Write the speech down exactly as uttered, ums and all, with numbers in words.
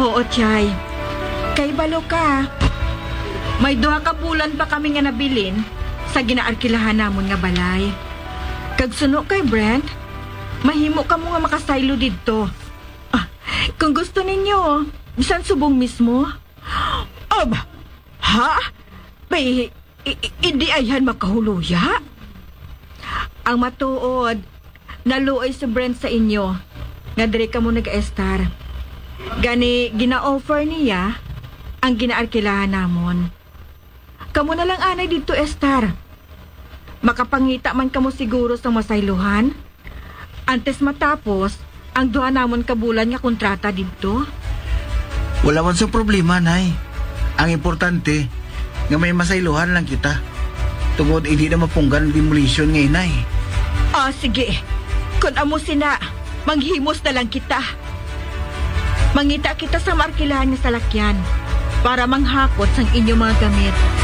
Oo, Chay. Kay balo ka, may duha ka bulan pa kami nga nabilin sa ginaarkilahan namon nga balay. Kag suno kay Brent, mahimo kamo nga makasaylo didto. Ah, kung gusto ninyo, bisan subong mismo. Ab, ha? May i-, i-, hindi ayhan makahuluya? Ang matuod, naluoy si Brent sa inyo nga diri kamo nag-estar. Gani, gina-offer niya ang ginaarkilahan namon. Kamo na lang anay didto estar. Makapangita man kamo siguro sang masaylohan antes matapos ang duha namon ka bulan nga kontrata didto. Wala man sa problema, Nay. Ang importante, nga may masaylohan lang kita. Tungod hindi na mapunggan ang demolition nga inay. Ah, sige. Kon amo sina, manghimos na lang kita. Mangita kita sa maarkilahan nga salakyan para manghakot sang inyong mga gamit.